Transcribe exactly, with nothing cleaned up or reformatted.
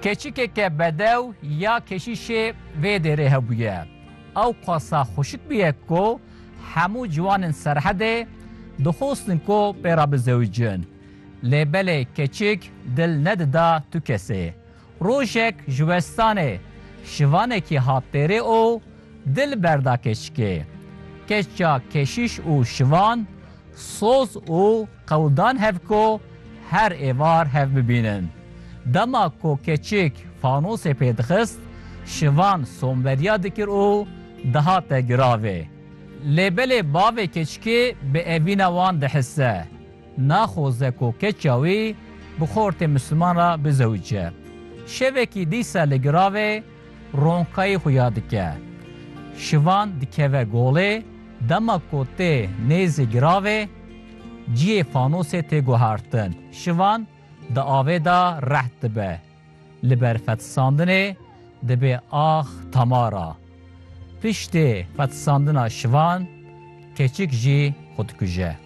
Keçikeke bedew ya keşîşê vê dêrê hebûye. Ew qasa xweşik bûye ku hemû ciwanên Serhedê dixwestin ku pê re bizewicin. Lê belê keçik dil nedida tu kesê. Rojek ji westanê şivanekî hat dêrê û dil berda keçikê. Keça keşîş û şivan soz û qewdan hev ku her êvar hev bibînin. Dema ku keçik fanosê pê dixist, şivan somveriya dikir û dihate giravê. Lê belê bavê keçikê bi evîna wan dihise. Naxoze ku keça wî bi xortê Misliman re bizewice. Şevekî dîsa li giravê ronkayî xuya dike. Şivan dikeve golê, dema ku tê nêzî giravê, ciyê fanosê tê guhertin. Şivan di avê de reht dibe. Li ber fetisandinê dibe ax tamara. Piştê fetisandina şivan, keçik jî xwe dikuje.